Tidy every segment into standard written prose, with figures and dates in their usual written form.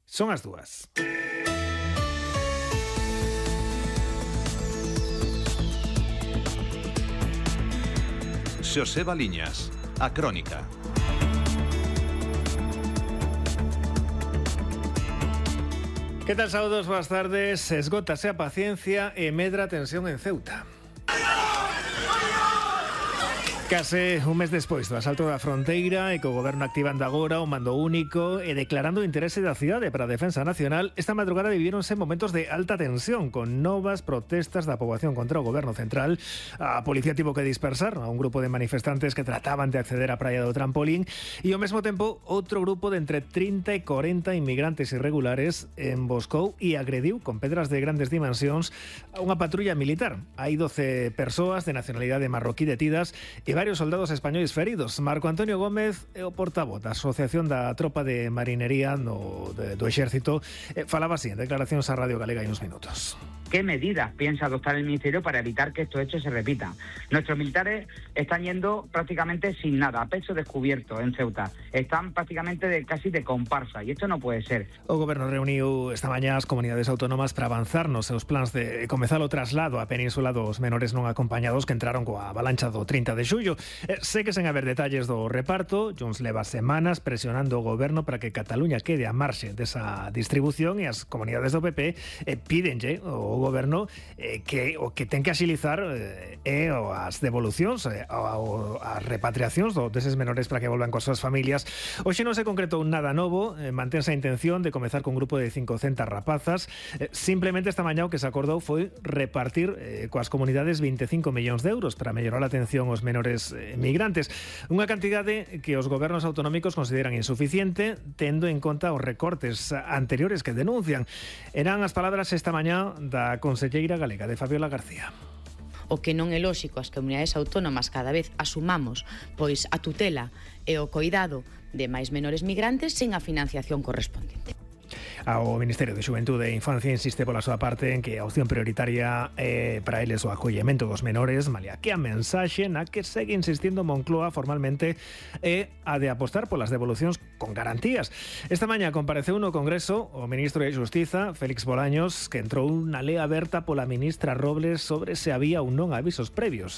Son as 2. Xosé Baliñas, a Crónica. Que tal, saúdos, boas tardes. Esgótase a paciencia e medra a tensión en Ceuta. Case un mes despois do asalto da fronteira e co goberno activando agora o mando único e declarando o interese da cidade para a defensa nacional, esta madrugada vivíronse momentos de alta tensión con novas protestas da poboación contra o goberno central. A policía tivo que dispersar a un grupo de manifestantes que trataban de acceder á praia do Trampolín e ao mesmo tempo outro grupo de entre 30 e 40 inmigrantes irregulares emboscou e agrediu con pedras de grandes dimensións a unha patrulla militar. Hai 12 persoas de nacionalidade marroquí detidas e varios soldados españois feridos. Marco Antonio Gómez é o portavoz da Asociación da Tropa de Marinería do Exército. Falaba así en declaracións a Radio Galega hai uns minutos. ¿Qué medidas piensa adoptar el Ministerio para evitar que estos hechos se repitan? Nuestros militares están yendo prácticamente sin nada, a pecho descubierto en Ceuta. Están prácticamente casi de comparsa y esto no puede ser. O Goberno reuniu esta mañá as comunidades autónomas para avanzar nos seus plans de comezar o traslado á península dos menores non acompañados que entraron coa avalancha do 30 de xullo. Sé que sen haber detalles do reparto, Junts leva semanas presionando o Goberno para que Cataluña quede a marxe desa distribución e as comunidades do PP pídenlle o Goberno que o que ten que axilizar as devolucións as repatriacións deses menores para que volvan coas súas familias. Hoxe non se concretou nada novo, mantense a intención de comezar con un grupo de 500 rapazas. Simplemente esta mañá o que se acordou foi repartir coas comunidades 25 millóns de euros para mellorar a atención aos menores migrantes. Unha cantidade que os gobernos autonómicos consideran insuficiente, tendo en conta os recortes anteriores que denuncian. Eran as palabras esta mañá da conselleira galega de Fabiola García. O que non é lóxico as comunidades autónomas cada vez asumamos pois a tutela e o coidado de máis menores migrantes sen a financiación correspondente. O Ministerio de Xuventude e Infancia insiste pola súa parte en que a opción prioritaria para eles o acollemento dos menores, malia que a mensaxe na que segue insistindo Moncloa formalmente é a de apostar polas devolucións con garantías. Esta mañá compareceu no Congreso o ministro de Xustiza, Félix Bolaños, que entrou unha lea aberta pola ministra Robles sobre se había ou non avisos previos.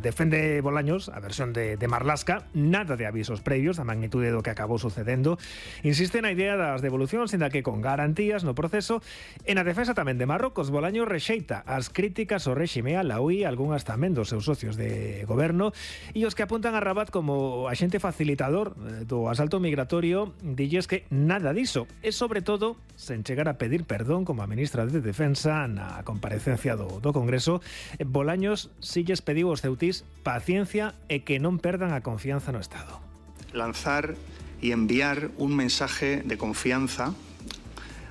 Defende Bolaños a versión de Marlaska, nada de avisos previos da magnitude do que acabou sucedendo. Insiste na idea das devolucións, ainda que con garantías no proceso. En a defensa tamén de Marrocos, Bolaños rexeita as críticas ao réxime alaúí, algunhas tamén dos seus socios de goberno, e os que apuntan a Rabat como axente facilitador do asalto migratorio, dilles que nada diso, e sobre todo sen chegar a pedir perdón como a ministra de Defensa na comparecencia do Congreso. Bolaños si lles pediu aos ceutís paciencia e que non perdan a confianza no Estado. Lanzar y enviar un mensaje de confianza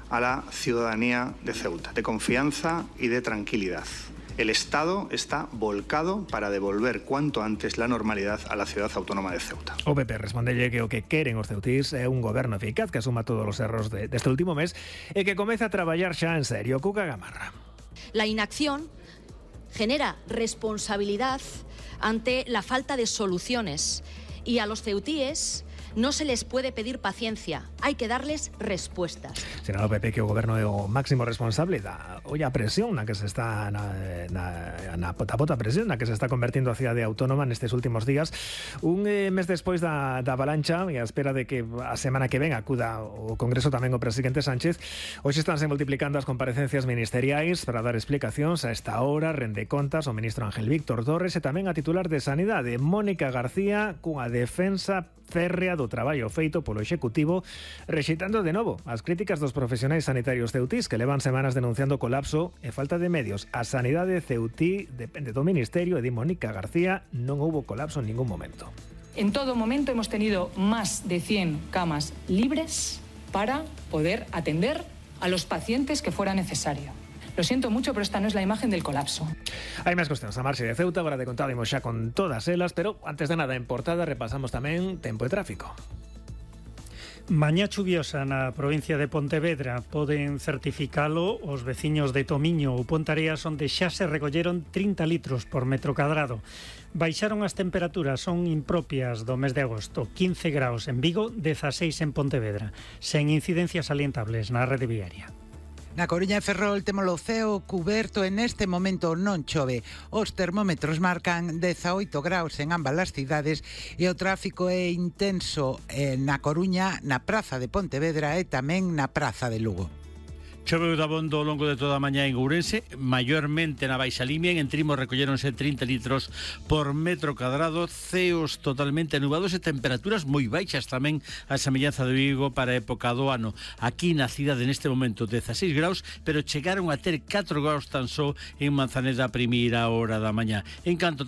a la ciudadanía de Ceuta, de confianza y de tranquilidad. El Estado está volcado para devolver cuanto antes la normalidad a la ciudad autónoma de Ceuta. O PP respondelle que o que queren os ceutís é un goberno eficaz que asuma todos os erros deste último mes e que comece a traballar xa en serio. Cuca Gamarra. La inacción genera responsabilidad ante la falta de soluciones y a los ceutíes no se les puede pedir paciencia, hay que darles respuestas. Será o PP que o goberno é o máximo responsable da olla presión na que se está na pota presión na que se está convertindo a cidade autónoma nestes últimos días. Un mes despois da avalancha e a espera de que a semana que ven acuda o Congreso tamén o presidente Sánchez, hoxe estánse multiplicando as comparecencias ministeriais para dar explicacións. A esta hora rende contas o ministro Ángel Víctor Torres e tamén a titular de Sanidade, Mónica García, cunha defensa férrea do traballo feito polo Executivo, rexeitando de novo as críticas dos profesionais sanitarios ceutís que levan semanas denunciando colapso e falta de medios. A sanidade ceutí depende do Ministerio e di Mónica García non houbo colapso en ningún momento. En todo momento hemos tenido más de 100 camas libres para poder atender a los pacientes que fuera necesario. Lo siento mucho, pero esta no es la imagen del colapso. Hai máis cuestións a marxe de Ceuta, agora de contado imos xa con todas elas, pero antes de nada en portada repasamos tamén tempo e tráfico. Mañá chuviosa na provincia de Pontevedra. Poden certificalo os veciños de Tomiño ou Pontareas, onde xa se recolleron 30 litros por metro cadrado. Baixaron as temperaturas, son impropias do mes de agosto. 15 graus en Vigo, 16 en Pontevedra. Sen incidencias salientables na rede viaria. Na Coruña e Ferrol temos o ceo cuberto e neste momento non chove. Os termómetros marcan 18 graus en ambas as cidades e o tráfico é intenso na Coruña, na Praza de Pontevedra e tamén na Praza de Lugo. Choveu dabondo ao longo de toda a mañá en Ourense, maiormente na Baixa Limia. En Trimo recolleronse 30 litros por metro cadrado, ceos totalmente nubados e temperaturas moi baixas tamén a semellanza de Vigo para a época do ano. Aquí na cidade neste momento 16 graus, pero chegaron a ter 4 graus tan só en Manzaneda a primeira hora da mañá. En canto